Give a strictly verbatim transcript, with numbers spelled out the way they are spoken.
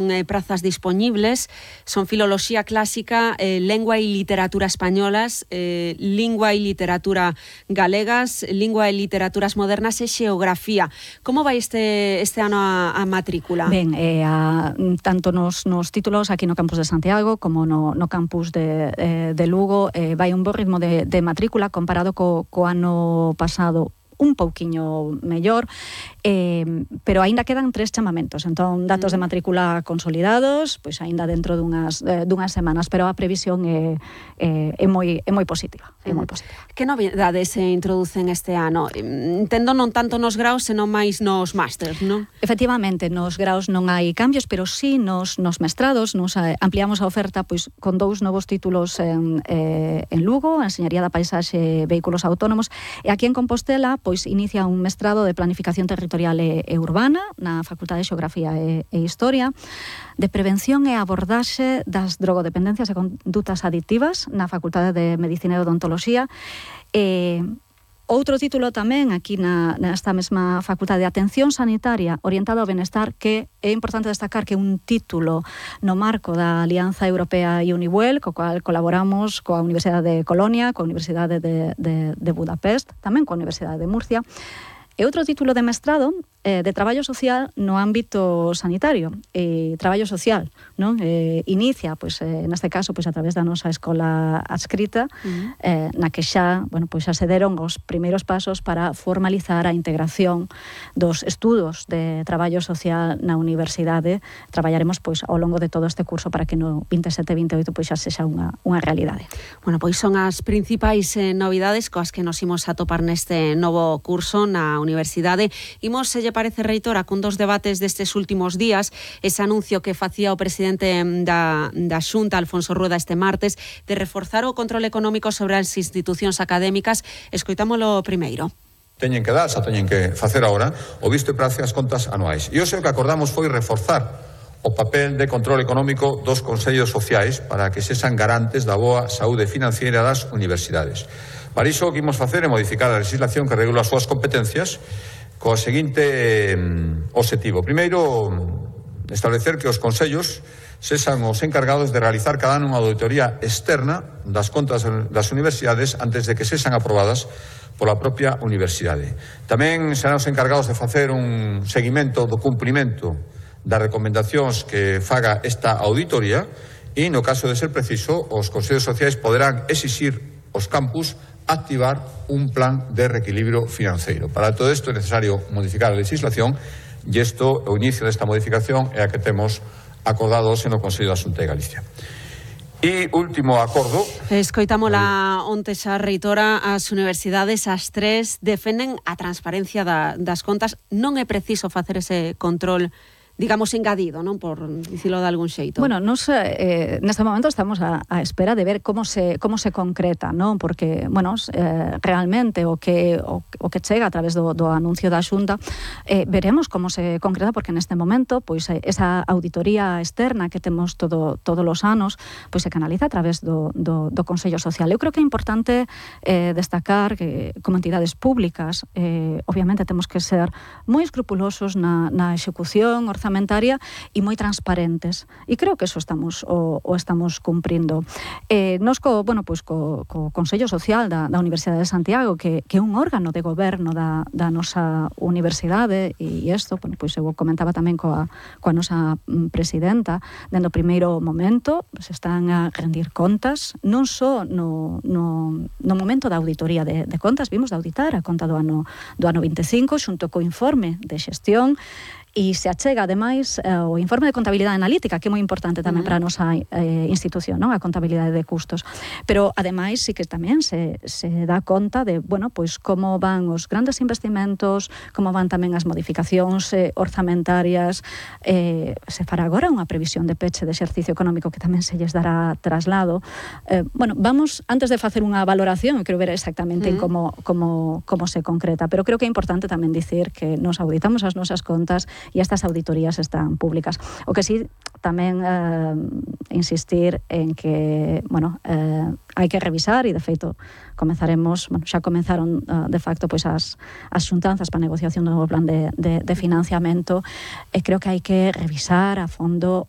Eh, prazas disponibles, son filoloxía clásica, eh, lengua e literatura españolas, eh, lingua e literatura galegas, lingua e literaturas modernas e xeografía. Como vai este, este ano a, a matrícula? Ben, eh, a, tanto nos, nos títulos aquí no campus de Santiago como no, no campus de, eh, de Lugo eh, vai un bo ritmo de, de matrícula comparado co, co ano pasado, un pouquiño mellor, eh, pero aínda quedan tres chamamentos, entón datos de matrícula consolidados, pois aínda dentro dunhas, eh, dunhas semanas, pero a previsión é, é, é, moi, é moi positiva, é moi positiva. Que novidades se introducen este ano? Entendo non tanto nos graus, senón máis nos másters, non? Efectivamente, nos graus non hai cambios, pero sí nos, nos mestrados, nos ampliamos a oferta pois con dous novos títulos en, eh, en Lugo, Enseñaría da Paisaxe e Vehículos Autónomos, e aquí en Compostela, pois inicia un mestrado de Planificación Territorial e, e Urbana na Facultade de Xeografía e, e Historia, de Prevención e Abordaxe das Drogodependencias e Condutas Adictivas na Facultade de Medicina e Odontoloxía. E outro título tamén aquí na, nesta mesma Facultade de Atención Sanitaria orientada ao benestar, que é importante destacar que un título no marco da Alianza Europea Unibuel, co cual colaboramos coa Universidade de Colonia, coa Universidade de, de, de Budapest, tamén coa Universidade de Murcia, e outro título de mestrado eh, de traballo social no ámbito sanitario e traballo social, non? Eh, inicia, pois, eh, neste caso, pois, a través da nosa escola adscrita, uh-huh. eh, na que xa, bueno, pois, xa se deron os primeiros pasos para formalizar a integración dos estudos de traballo social na universidade. Traballaremos, pois, ao longo de todo este curso para que no vinte e sete vinte e oito pois, xa sexa unha, unha realidade. Bueno, pois son as principais eh, novidades coas que nos imos a topar neste novo curso na universidade. Imos, se lle parece, reitora, cun dos debates destes últimos días, ese anuncio que facía o presidente da, da Xunta, Alfonso Rueda, este martes, de reforzar o control económico sobre as institucións académicas. Escoitámolo primeiro. Teñen que dar, xa teñen que facer agora, o visto e prace as contas anuais. E hoxe o que acordamos foi reforzar o papel de control económico dos consellos sociais para que sexan garantes da boa saúde financiera das universidades. Para iso o que imos facer é modificar a legislación que regula as súas competencias co seguinte eh, objetivo. Primeiro, establecer que os consellos sexan os encargados de realizar cada ano unha auditoría externa das contas das universidades antes de que sexan aprobadas pola propia universidade. Tamén serán os encargados de facer un seguimento do cumprimento das recomendacións que faga esta auditoría e, no caso de ser preciso, os consellos sociais poderán exixir aos campus activar un plan de reequilibrio financeiro. Para todo isto é necesario modificar a legislación e isto, o inicio desta modificación é a que temos acordado hoxe no Consello da Xunta de Galicia. E último acordo... Escoitámola onte xa, reitora, as universidades, as tres, defenden a transparencia da, das contas. Non é preciso facer ese control, digamos, engadido, non? Por dicilo de algún xeito. Bueno, nos, eh, neste momento estamos a, a espera de ver como se, como se concreta, non? Porque, bueno, eh, realmente o que, o, o que chega a través do, do anuncio da Xunta, eh, veremos como se concreta, porque neste momento, pois, esa auditoría externa que temos todo, todos os anos, pois se canaliza a través do, do, do Consello Social. Eu creo que é importante eh, destacar que, como entidades públicas, eh, obviamente temos que ser moi escrupulosos na, na execución orzamentaria e moi transparentes. E creo que eso estamos o, o estamos cumprindo. Eh, nos co, bueno, pois co, co Consello Social da, da Universidade de Santiago, que, que é un órgano de goberno da, da nosa universidade, e isto, bueno, pois eu comentaba tamén coa, coa nosa presidenta, dende o primeiro momento, se están a rendir contas, non só no, no, no momento da auditoría de, de contas, vimos de auditar a conta do ano, do ano vinte e cinco, xunto co informe de xestión, e se achega, ademais, o informe de contabilidade analítica, que é moi importante tamén uh-huh. para a nosa eh, institución, non? A contabilidade de custos. Pero, ademais, sí que tamén se, se dá conta de, bueno, pois como van os grandes investimentos, como van tamén as modificacións eh, orzamentarias. Eh, se fará agora unha previsión de peche de exercicio económico que tamén se lles dará traslado. Eh, bueno, vamos, antes de facer unha valoración, eu quero ver exactamente uh-huh. como, como, como se concreta, pero creo que é importante tamén dicir que nos auditamos as nosas contas e estas auditorías están públicas. O que sí, tamén eh, insistir en que, bueno, eh, hai que revisar, e de feito comezaremos, bueno, xa comenzaron uh, de facto pois as, as xuntanzas para a negociación do novo plan de, de, de financiamento, e creo que hai que revisar a fondo o